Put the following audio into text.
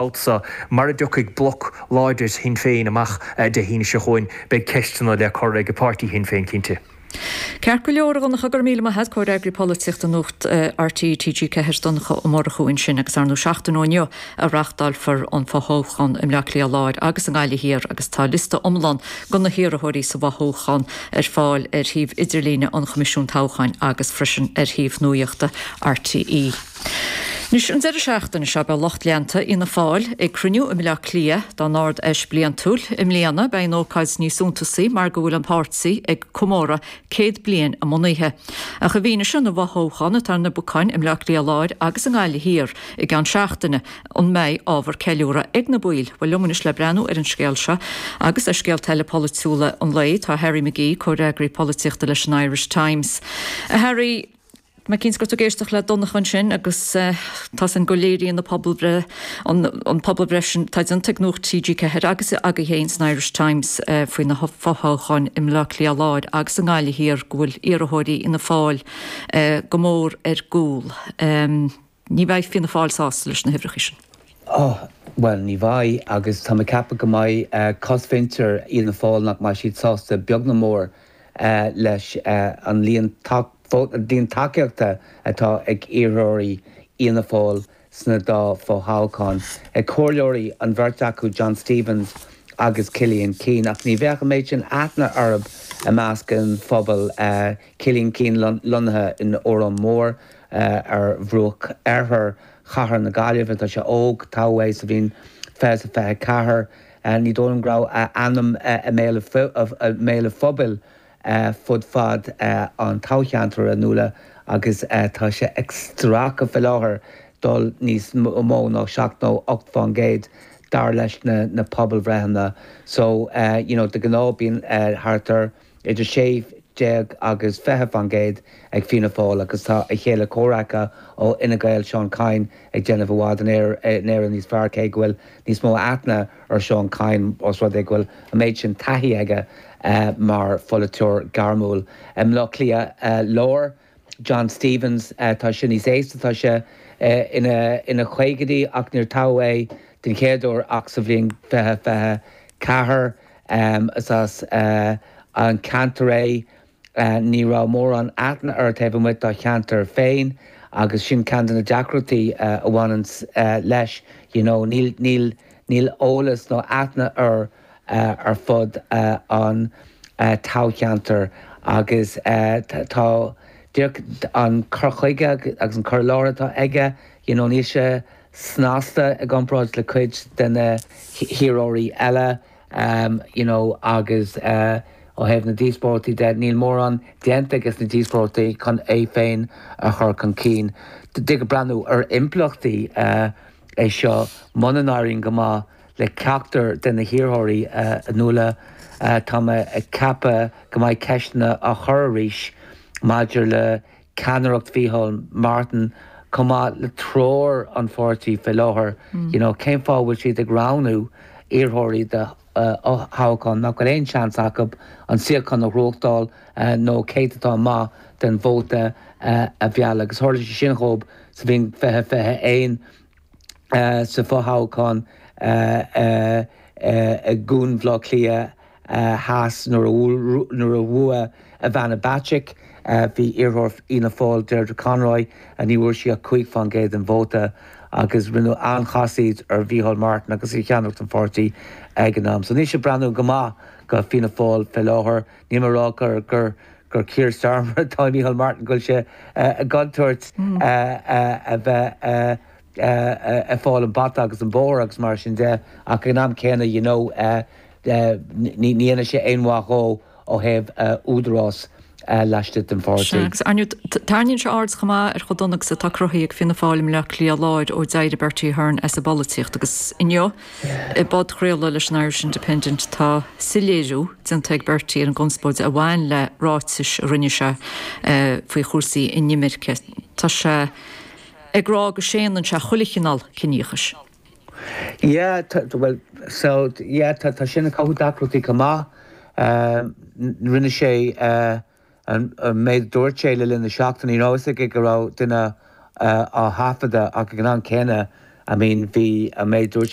Babhta seo, mara dtiocfaidh bloc láidir Shinn Féin amach Dé hAoine seo chugainn, beidh ceisteanna le cur ag páirtí Shinn Féin cinnte. Ceart go leor, a Dhonncha, go raibh míle maith a't, Comhfhreagraí Polaitíochta Nuacht RTÉ TG4, Donncha Ó Murchú ansin agus ar ndóigh seachtain ó inniu a reáchtálfar an fothoghchán i mBleá Cliath Láir agus i nGaillimh Thiar agus tá liosta iomlán de na hiarrthóirí sa bhfothoghchán ar fáil ar shuíomh idirlíne an Choimisiúin Toghcháin agus freisin ar shuíomh nuachta RTÉ. Anois, an deireadh seachtaine seo, beidh lucht leanta Fhianna Fáil ag cruinniú i mBleá Cliath dá n-Ard-Fheis bliantúil. I mbliana, beidh an ócáid níos suntasaí mar go bhfuil an páirtí ag comóradh 100 bliain a mbunaithe. Ach i bhfianaise na bhfothoghchán atá ar na bacáin i mBleá Cliath Láir agus i nGaillimh Thiar i gceann seachtaine, an mbeidh ábhar ceiliúradh ag na baill? Bhuel, liom anois le breathnú ar an scéal seo agus ar scéalta eile polaitiúla an lae, tá Harry McGee, comhfhreagraí polaitíochta leis an Irish Times. A Harry, Tá mé cinnte go raibh tú ag éisteacht le Donncha ansin agus tá 's againn go léiríonn na pobalbhreith, an pobalbhreith sin atá déanta ag Nuacht TG4 agus agaibh féin san Irish Times faoi na fothoghcháin i mBleá Cliath Láir agus i nGaillimh Thiar go bhfuil iarrthóirí Fhianna Fáil go mór ar gcúl. Ní bheidh Fianna Fáil sásta leis na huimhreacha sin. Oh, bhuel, ní bheidh agus tá mé ag ceapadh go mbeidh cosmhuintir Fhianna Fáil nach mbeidh siad sásta beag ná mór leis an líon tacaíochta atá ag iarrthóirí Fhianna Fáil sna dá fho-thoghchán. Comhairleoirí an bheirt acu, John Stephens agus Cillian Keane, ach ní bheadh an méid sin aithne orthu i measc an phobail. Cillian Keane lonnaithe in Órán Mór ar bhruach oirthear chathair na Gaillimhe. Tá sé óg, toghadh é sa bhliain 2024. Ní dóigh liom go raibh a ainm i mbéal an phobail fud fad an toghcheantair, a Nuala, agus tá sé ag stracadh faoi láthair dul níos mó ná 7 nó 8 fán gcéad dar leis na pobalbhreitheanna. So, you know, de ghnáth bíonn thart ar idir 16 agus 20 fán gcéad ag Fianna Fáil agus tá a chéile comhraice ó Fhine Gael, Seán Kyne, ag déanamh i bhfad in Éirinn níos fearr cé go bhfuil níos mó aithne ar Seán Kyne os rud é go bhfuil an méid sin taithí aige mar pholaiteoir gairmiúil. I mBleá Cliath Láir, John Stephens, tá sé níos aosta, tá sé ina chaogaidí ach níor toghadh é den chéad uair ach sa bhliain 2024. Is as an ceantar é. Ní raibh mórán aithne air taobh amuigh dá cheantar féin agus sin ceann de na deacrachtaí a bhaineann leis, you know, níl, níl, níl eolas nó aithne air ar fud an toghcheantair agus tá díreach an cur chuige agus an cur i láthair atá aige, you know, níl sé snasta i gcomparáid le cuid de na hiarrthóirí eile you know agus ó thaobh na díospóireachtaí de, níl mórán déanta aige sna díospóireachtaí chun é féin a chur chun cinn. Tig breathnú ar impleachtaí é seo muna n-éiríonn go maith le ceachtar de na hiarrthóirí, a Nuala, tá mé ag ceapadh go mbeidh ceisteanna á chur arís maidir le ceannaireacht Mhícheál Martin chomh maith le treoir an pháirtí fé láthair, you know, cén fáth a bhfuil siad ag roghnú iarrthóirí do thoghchán nach bhfuil aon seans acu an suíochán a ghnóthachtáil nó céatadán maith den vóta a mhealladh. Agus tharla sé sin dhóibh sa bhliain 2021. sa fhothoghchán i gCuan Bhaile Átha Cliath Theas nuair a bhuaigh Ivana Bacik. Bhí iarrthóir Fhianna Fáil Deirdre Conroy, ní bhfuair sí ach 5% den vóta agus rinneadh an-chasaoid ar Mhícheál Martin agus ar cheannaireacht an pháirtí ag an am. So níl sé ag breathnú go maith go Fianna Fáil fé láthair. Níl mé ag rá gur gur gur Keir Starmer atá i Mícheál Martin, go bhfuil sé i gcontúirt a bheith ag fáil an bata agus an bóthar agus mar sin de, ach ag an am céanna, you know, ní dhéanfaidh sé aon mhaith dhó ó thaobh údarás laistigh den pháirtí. Sea, agus ar ndóigh, tarraingíonn sé aird chomh maith ar chomh dona agus atá cruthaithe ag Fianna Fáil i mBleá Cliath Láir ó d'éirigh Bertie Ahern as an bpolaitíocht agus inniu, I bpodchraoladh leis an Irish Independent tá soiléiriú déanta ag Bertie ar an gconspóid a bhain le ráitis a rinne sé faoi chúrsaí inimirce. Tá sé ag rá go séanann sé chuile chineál ciníochais. Yeah, bhuel, so, yeah, tá sin ag cothú deacrachtaí chomh maith. Rinne sé. An méid a dúirt sé le linn na seachtaine, ní raibh a fhios aige go raibh duine á thaifeadadh ach ag an am céanna. I mean bhí an méid dúirt.